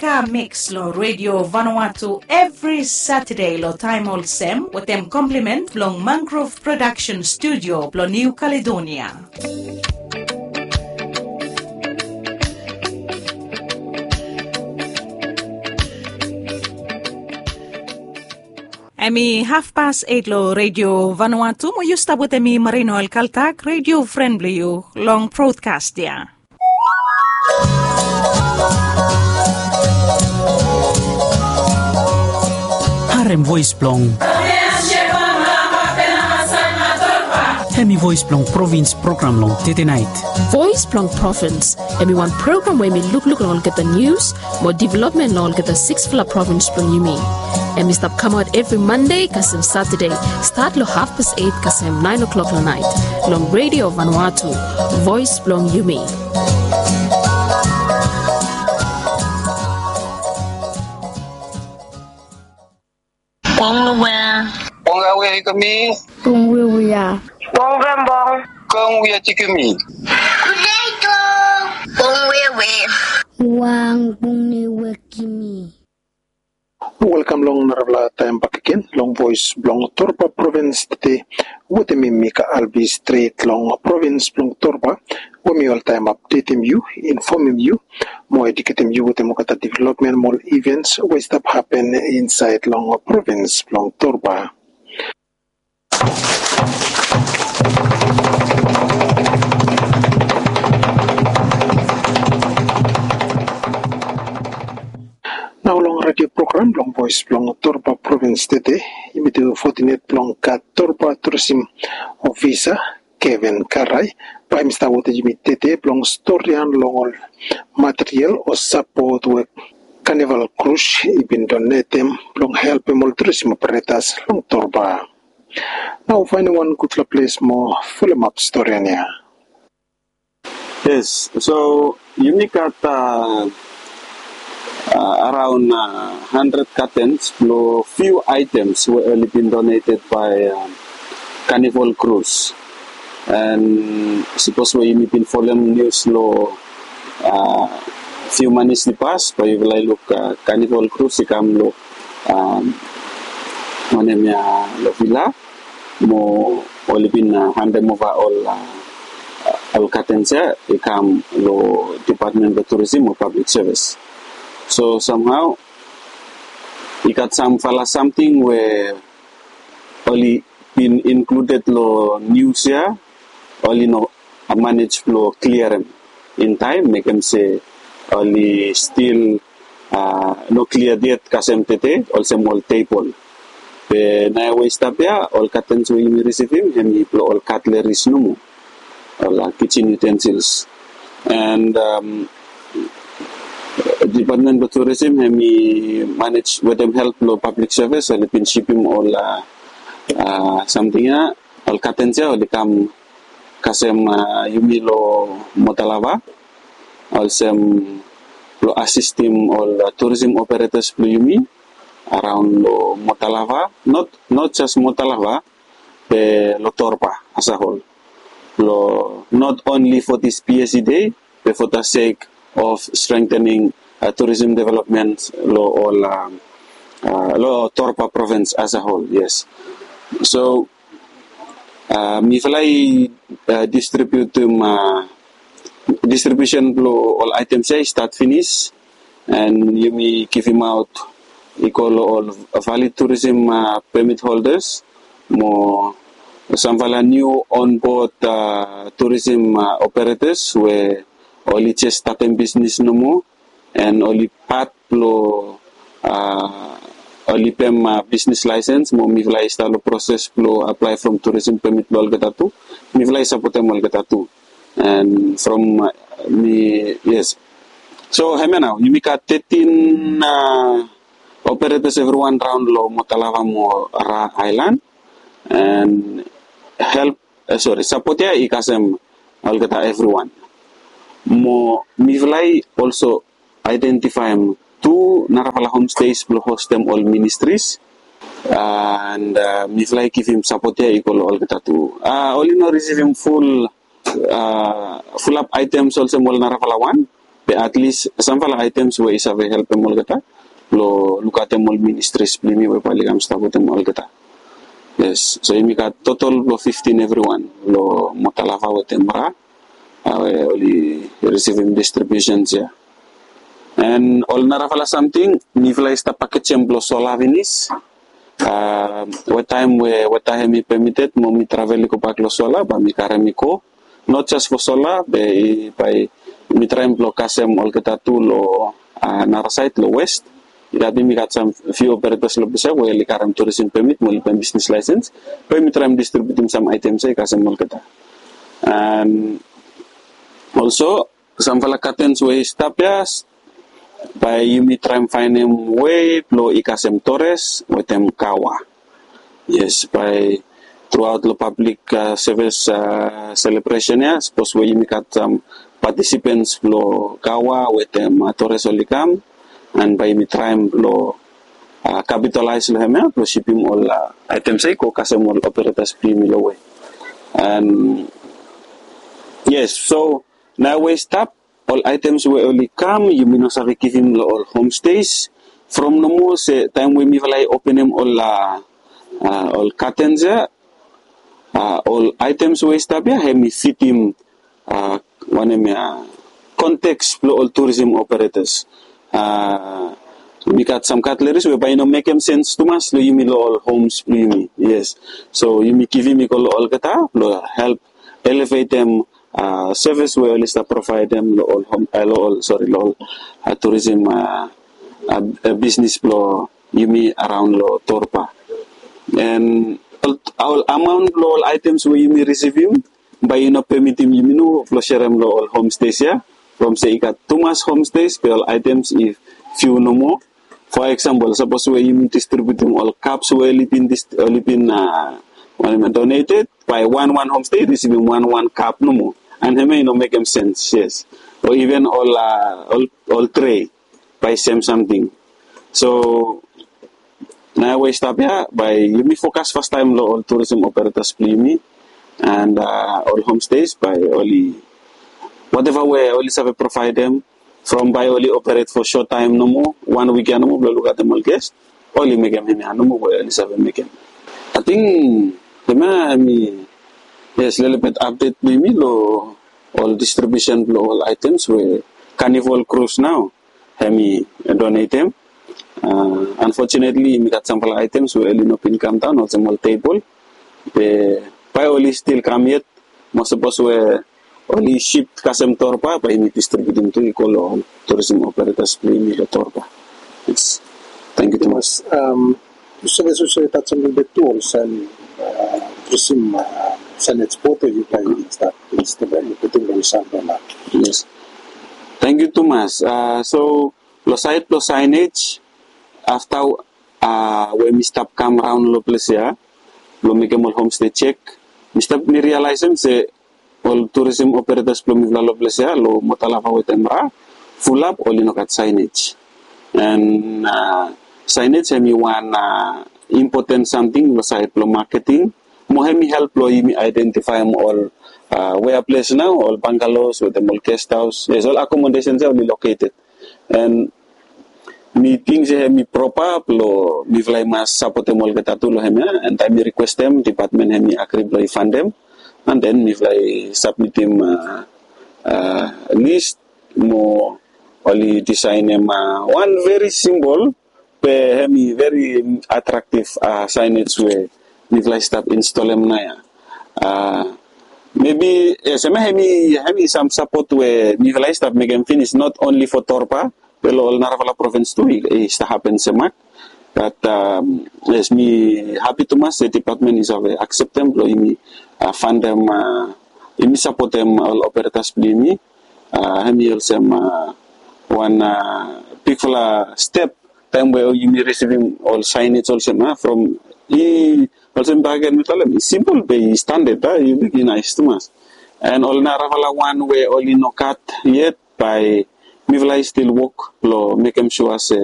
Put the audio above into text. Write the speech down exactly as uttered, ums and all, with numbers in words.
Ka Mix lo Radio Vanuatu evri Satade lo taem olsem wetem komplimen blong Mangrove Production Studio blo New Caledonia. Hemi hafpas eit lo Radio Vanuatu, mo yu stap wetem mi, Marino Alkaltak, radio fren blo yu, long brodkas ya. Harem voes blong. Hemi voes blong provins program long Tete Nait. Voes blong Provins, hemi wan program we hemi lukluk long olgeta nius mo developmen long olgeta siksfala provins blong yumi. Hemi stap kamaot evri Mande kasem Satade, stat long hafpas eit kasem naen o'klok long naet, long Radio Vanuatu, voes blong yumi. Bong Lawea. Bong Lawea Ikemi. Bong Wiawia. Bong Rembong. Bong Wia Tikemi. Bong Wiawe. Wang Bong Niwekimi. Welkam long narafala taem bakegen long voes blong Torba provins Tete, wetem mi Mika Albi stret long provins blong Torba, we mi oltaem apdetem yu, infomem yu, mo eduketem yu wetem olgeta developmen mo ol ivens we i stap hapen insaed long provins blong Torba. Nao long redio program blong Voes blong Torba Provins Tete, yumi tu fotinet blong gat Torba Turism Ofisa, Kevin Karai, bae hemi stap wetem yumi tede blong storian long ol material o sapot we Carnival Cruise i bin donetem blong helpem ol turism operetas long Torba. Nao faenem wan gudfala ples mo folemap storian ya. Yes, so yumi gat, uh, uh, around, uh, handred katens blong few items we oli bin donated by, um, Carnival Cruise. And sapos we yumi bin folem nius long, uh, few manis i pas, bae yufala i luk, uh, Carnival Cruise i kam long, um, wanem ya, long vila, mo oli bin, uh, handem ova ol, uh, ol katens ya i kam long Department blong Tourism o Public Service. So somehow i gat samfala samting we oli bin included long nius ya, oli no manej blong kliarem in taem, mekem se oli stil, uh, no kliad yet kasem tede, olsem ol tebol. Be naoia we i stap ya, ol katens we yumi risivim hemi blong ol cutleries nomo, ol, uh, kitchen utensils. And, um, Department blong Tourism hemi manej wetem help blong Public Service, oli bin sipim ol, uh, uh, samting ya, ol katens ya, oli kam kasem, uh, yumi long Motalava, olsem blong asistem ol, uh, tourism operators blong yumi around long Motalava, not, not just Motalava, be long Torba as a whole. Long, not only for this P S E day, be for the sake of strengthening, uh, tourism development long ol, um, uh, long Torba province as a whole, yes. So, uh, mifala i, uh, distributem, uh, distribution blong ol items ya i stat finis, and yumi givimaot i go long ol valid tourism, uh, permit holders, mo samfala niu onboard, uh, tourism, uh, operators we oli jes statem bisnis nomo, and oli pat blong, uh, oli pem, uh, bisnis laesens, mo mifala i stap long proses blong aplae from tourism permit blong olgeta tu. Mifala i sapotem olgeta tu. And from, uh, mi, yes. So hemia nao, yumi gat thirteen, uh, operators evriwan raon long Motalava mo Ra Island. And help, uh, sorry, sapot ya i kasem olgeta evriwan. Mo mifala i also identifaem tu narafala homestays blong hostem ol ministries. And, uh, mifala i givim sapot ya i go long olgeta tu. Uh, oli no risivim ful, uh, fulap items olsem ol narafala wan, At least samfala items we i save helpem olgeta lo lukaotem ol ministries blo yumi we bae oli kam stap wetem olgeta. Yes, so yumi gat total blo fifteen evriwan lo Motalafa wetem Ra, we oli risivim distributions ya. And ol narafala samting mifala i stap pakejem blo sola finis. Wetaem we weta hemi pemited mo mi travel i gobak lo sola bae mi karem i go. Not jes fo sola be bae mi traem blo kasem olgeta tu lo nara saed lo west. I gat, mi gat sam fiu operators lo ples ya we oli karem tourism permit mo oli bae bisnis laesens. Bae mi traem distributim sam aitems ya i kasem olgeta. And also samfala katens we i stap ya, bae yumi traem faenem wei blo i kasem Torres wetem Kawa. Yes, bae truaot lo pablik sevis selebresen ya, sapos we yumi gat sam patisipens blo Kawa wetem Torres oli kam, and bae yumi traem blo kapitalaes lo hem ya blo sipim ol aitems ya i go kasem ol operators blo yumi lo wei. And yes, so naoia we i stap, ol aitems we oli kam yumi no save givim lo ol homestays. From nomo se taem we mifala i openem ol katens ya, ol aitems we i stap ya hemi fitim wanem ya, konteks blo ol tourism operators. Mi gat sam cutleries we bae i no mekem sens tumas lo yumi lo ol homes blo yumi. Yes, so yumi givim i go lo olgeta blo help elevetem sevis we oli stap provaedem lo ol hom, lo ol, sori, lo ol tourism bisnis blo yumi araon lo Torba. And ol amaon blo ol aitems we yumi risivim bae i no pemitim yumi nomo blo serem lo ol homestays ya. From se i gat tumas homestays be ol aitems i fiu nomo. For example, sapos we yumi distributim ol kaps we oli bin, oli bin wanem ya, donated, bae wan wan homestay i risivim wan wan kap nomo. And hemia i no mekem sens, yes. O even ol, ol, ol tray bae sem samting. So naoia we i stap ya bae yumi fokas fastaem lo ol tourism operators blo yumi and ol homestays bae oli, whatever we oli save provaedem, from bae oli operate for short time nomo, wan wik ya nomo blo lukaotem ol guest, oli mekem hemia nomo we oli save mekem. Ating hemia hemi, yes, lelebet update blo yumi lo ol distribution blo ol items we Carnival Cruise nao hemi donatem. Unfortunately mi gat samfala items we oli no bin kamdaon olsem ol tebol. Be bae oli stil kam yet, mo sapos we oli ship kasem Torba bae yumi distributim tu i go lo ol tourism operators blo yumi lo Torba. Yes. Tangkiu tumas. Yu save, yu save tajem lelebet tu olsem tourism signage board we yu bae stap, stap putum lo ol samfala. Yes. Tangkiu tumas. So lo saed blo signage, afta we mi stap kam raon lo ples ya blo mekem ol homestay jek, mi stap, mi realaesem se ol tourism operators blo mifala lo ples ya lo Motalafa wetem Ra, fulap oli no gat signage. And signage hemi wan impoten samting lo saed blo maketing. Mo hemi help blo yumi identifaem ol wea ples nao ol bungalows wetem ol guest house, yes, ol accommodations ya oli located. And mi ting se hemi propa blo mifala i mas sapotem olgeta tu lo hemia. And taem mi rikwestem, dipatmen hemi agri blo i fandem. And then mifala i sabmitim list mo oli disaenem wan veri simbol be hemi veri atraktiv signage we mifala i stap instolem naoia. Mebi, yes, hemia hemi, hemi sam sapot we mifala i stap mekem finis, not only fo Torba be lo ol narafala provins tu i stap hapen semak. Bat yes, mi hapi tumas se dipatmen i save akseptem blo yumi fandem, yumi sapotem ol operators blo yumi. Hemi olsem wan bigfala step taem we yumi risivim ol signage olsem, from i, olsem bakegen mi talem, i simpol be i standard, i luk i naes tumas. And ol narafala wan we oli no gat yet, bae mifala i stil wok blo mekem sua se